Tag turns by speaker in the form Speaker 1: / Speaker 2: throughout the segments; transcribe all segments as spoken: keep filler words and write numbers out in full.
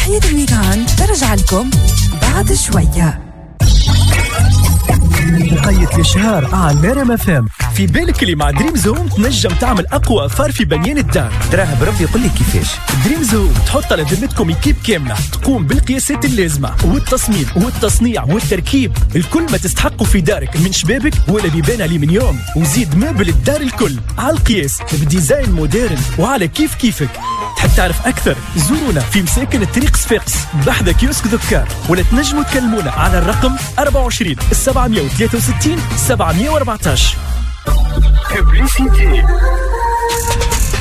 Speaker 1: صباحية ال week-end ترجع لكم بعد شوية.
Speaker 2: وقيت الإشهار على R M F M. في بالك اللي مع Dreams Home تنجم تعمل أقوى affaire في بنيان الدار.
Speaker 3: تراه بربي يقول لي كيفاش.
Speaker 2: Dreams Home تحط على ذمتكم équipe كاملة تقوم بالقياسات اللازمة والتصميم والتصنيع والتركيب، الكل ما تستحقه في دارك من شبابك ولا بيبان ألمنيوم، وزيد meuble الدار الكل على القياس ب design moderne وعلى كيف كيفك. تحب تعرف أكثر؟ زورونا في مساكن الطريق صفاقس بحذا كيوسك ذكار، ولا تنجموا تكلمونا على الرقم أربعة وعشرين سبعمية وثلاثة وستين سبعمية وأربعتاش.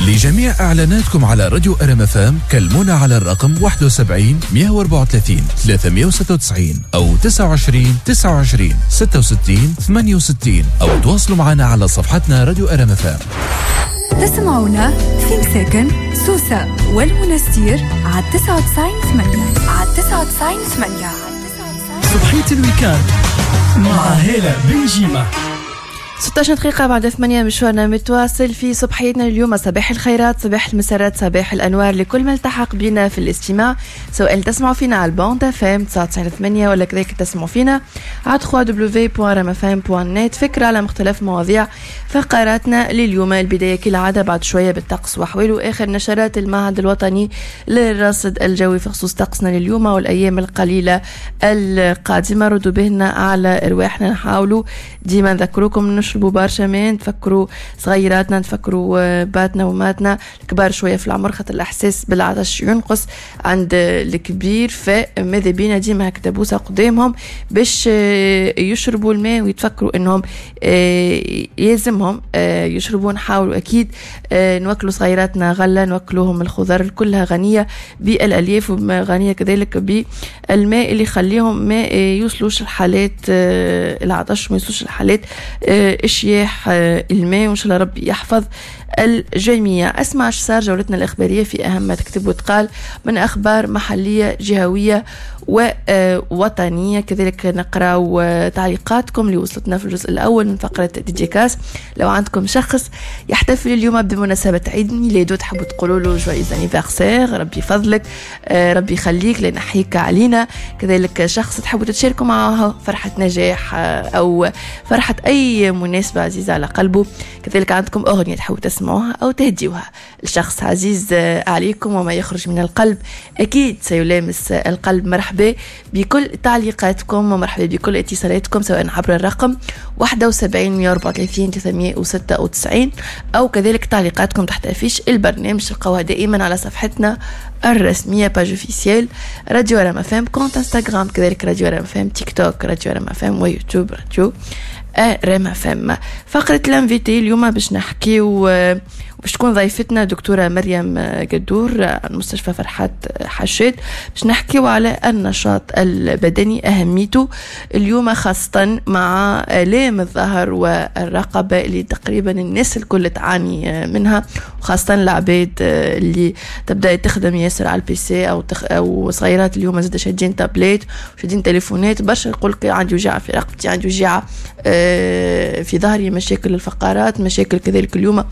Speaker 4: لجميع إعلاناتكم على راديو R M F M كلمونا على الرقم واحد وسبعين مية وأربعة وثلاثين ثلاثمية وستة وتسعين أو تسعة وعشرين تسعة وعشرين ستة وستين ثمانية وستين أو تواصلوا معنا على صفحتنا راديو R M F M.
Speaker 1: تسمعونا في مساكن سوسة والمنستير على تسعة وتسعين ثمانية، على تسعة وتسعين ثمانية.
Speaker 2: صبحية ال week-end مع هالة بنجيمة.
Speaker 5: ستة عشر دقيقة بعد ثمانية مشوارنا متواصل في صبحيتنا اليوم. صباح الخيرات، صباح المسارات، صباح الأنوار لكل من التحق بنا في الاستماع، سواء تسمعوا فينا على ال bande F M تسعة وتسعين ثمانية ولا كذلك تسمعوا فينا على دبليو دبليو دبليو دوت ار ام اف ام دوت نت. فكرة على مختلف مواضيع فقراتنا لليوم. البداية كالعادة بعد شوية بالطقس وأحواله، آخر نشرات المعهد الوطني للرصد الجوي في خصوص طقسنا لليوم والأيام القليلة القادمة. ردوا بهنا على أرواحنا، نحاولوا ديما نذكروكم نشربوا برشا ماء، نتفكروا صغيراتنا، نتفكروا باتنا وماتنا الكبار شوية في العمر، خاطر الاحساس بالعطش ينقص عند الكبير، فماذا بينا ديما هكذا بوسه قدامهم باش يشربوا الماء ويتفكروا انهم يلزمهم يشربوا. نحاولوا اكيد نوكلوا صغيراتنا غله، نوكلوهم الخضر كلها غنية بالالياف وغنيه كذلك بالماء اللي يخليهم ما يوصلوش الحالات العطش، ما يوصلوش الحالات اشياح الماء، وان شاء الله ربي يحفظ الجميع. اسمع اش صار جولتنا الاخبارية في اهم ما تكتب وتقال من اخبار محليه جهويه ووطنيه. كذلك نقراو تعليقاتكم اللي وصلتنا في الجزء الاول من فقره dédicace. لو عندكم شخص يحتفل اليوم بمناسبة عيد ميلاده تحبوا تقولوا له joyeux anniversaire، ربي يفضلك، ربي يخليك لنحيك علينا. كذلك شخص تحبوا تتشاركوا معه فرحه نجاح او فرحه اي مناسبة عزيزه على قلبه. كذلك عندكم اغنية تحبوا تسمعوها او تهديوها لشخص عزيز عليكم وما يخرج من القلب اكيد سيلامس القلب. مرحبا بكل تعليقاتكم ومرحبا بكل اتصالاتكم سواء عبر الرقم واحد وسبعين مية وأربعة وثلاثين ثلاثمية وستة وتسعين او كذلك تعليقاتكم تحت affiche البرنامج تلقوها دائما على صفحتنا الرسمية page officielle راديو R M F M، compte انستغرام كذلك راديو R M F M، تيك توك راديو R M F M، ويوتيوب راديو R M F M. فقره l'invité اليوم باش نحكيو باش تكون ضيفتنا دكتورة مريم قدور عن مستشفى فرحات حشاد، باش نحكيو على النشاط البدني أهميته اليوم خاصة مع آلام الظهر والرقبة اللي تقريبا الناس الكل تعاني منها، وخاصة العباد اللي تبدأ تخدم ياسر على ال P C أو تخ... أو صغيرات اليوم زاد شادين تابليت وشادين تليفونات برشا، يقولك عندي وجع في رقبتي، عندي وجع في ظهري، مشاكل الفقرات، مشاكل كذلك اليوم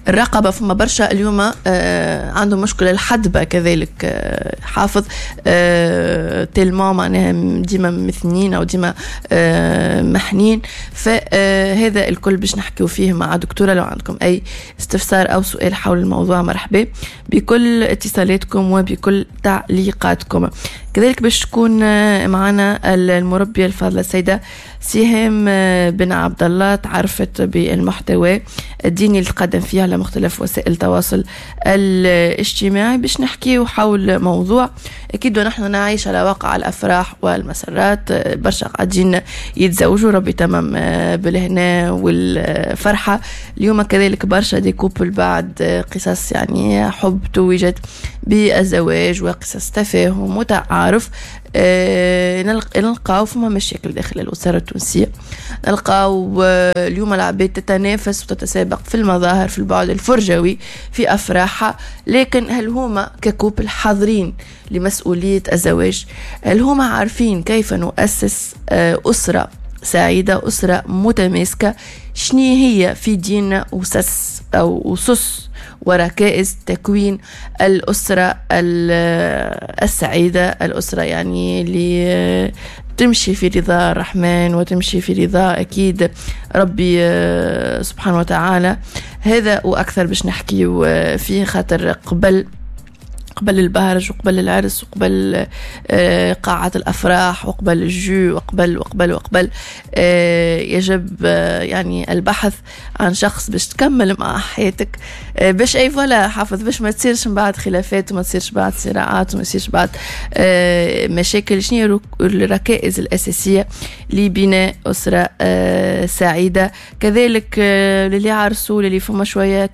Speaker 5: الرقبة. فما برشا اليوم آه عندهم مشكلة الحدبة كذلك، آه حافظ آه تلمون معناها ديما مثنين أو ديما آه محنين. فهذا الكل باش نحكيو فيه مع دكتورة. لو عندكم أي استفسار أو سؤال حول الموضوع مرحبا بكل اتصالاتكم وبكل تعليقاتكم. كذلك باش تكون معنا المربية الفاضلة السيدة سهام بن عبد الله، تعرفت بالمحتوى الديني اللي تقدم فيه على مختلف وسائل التواصل الاجتماعي، باش نحكيه حول موضوع أكيد ونحن نعيش على واقع الأفراح والمسرات، برشا قاعدين يتزوجوا ربي تمام بالهنا والفرحة. اليوم كذلك برشا des couples بعد قصص يعني حب توجت بالزواج وقصص تفاهم وتعارف، نلقاو فما مشاكل داخل الأسرة التونسية، نلقاو اليوم العباد تتنافس وتتسابق في المظاهر، في البعد الفرجوي، في أفراحها، لكن هل هما ك couple حاضرين لمسؤولية الزواج؟ هل هما عارفين كيف نؤسس أسرة سعيدة، أسرة متماسكة؟ شنو هي في ديننا أسس أو أسس وركائز تكوين الأسرة السعيدة، الأسرة يعني اللي تمشي في رضا الرحمن وتمشي في رضا أكيد ربي سبحانه وتعالى. هذا وأكثر باش نحكيو فيه، خاطر قبل قبل البهرج وقبل العرس وقبل قاعة الأفراح وقبل ال jeu وقبل وقبل وقبل يجب يعني البحث عن شخص باش تكمل مع حياتك، باش اي voilà حافظ، باش ما تصيرش من بعد خلافات وما تصيرش بعد صراعات وما تصيرش بعد مشاكل. شنو الركائز الأساسية لبناء أسرة سعيدة؟ كذلك للي عرسوا، للي فما شوية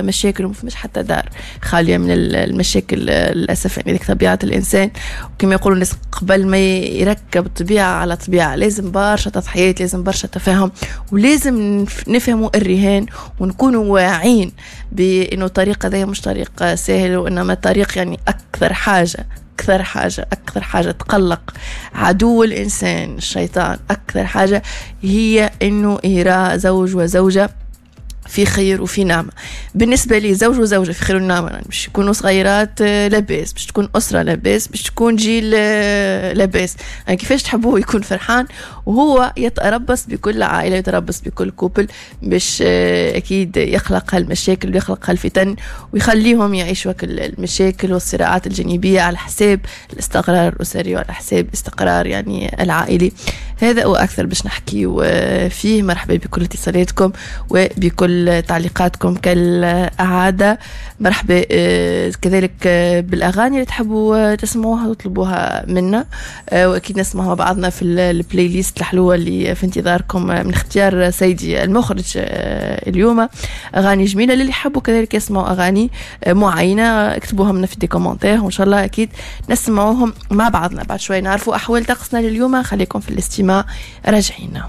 Speaker 5: مشاكل وما فماش حتى دار خالية من المشاكل للأسف، يعني ذيك طبيعة الإنسان. وكما يقولوا الناس قبل ما يركب طبيعة على طبيعة لازم برشا تضحيات، لازم برشا تفاهم، ولازم نفهموا الرهان ونكونوا واعين بأنه الطريق هذا مش طريق سهل، وإنما طريق يعني أكثر حاجة أكثر حاجة أكثر حاجة تقلق عدو الإنسان الشيطان، أكثر حاجة هي إنه يرى زوج وزوجة في خير وفي نعمة. بالنسبة لي زوج وزوجة في خير ونعمة، يعني باش يكونوا صغيرات لاباس، باش تكون أسرة لاباس، باش تكون جيل لاباس. يعني كيفاش تحبوه يكون فرحان وهو يتربص بكل عائلة، يتربص بكل couple، باش أكيد يخلق هالمشاكل ويخلق هالفتن ويخليهم يعيشوا المشاكل والصراعات الجانبية على حساب الاستقرار الأسري وعلى حساب استقرار يعني العائلي. هذا وأكثر باش نحكي فيه. مرحبا بكل اتصالاتكم وبكل تعليقاتكم كالعادة. مرحبا كذلك بالأغاني اللي تحبوا تسمعوها وتطلبوها منا، وأكيد نسمعها مع بعضنا في ال playlist الحلوة اللي في انتظاركم من اختيار سيدي المخرج اليوم. أغاني جميلة للي يحبوا كذلك يسمعوا أغاني معينة، اكتبوها لنا في des commentaires وإن شاء الله أكيد نسمعوهم مع بعضنا. بعد شوي نعرفوا أحوال طقسنا لليوم. خليكم في الاستماع، راجعين.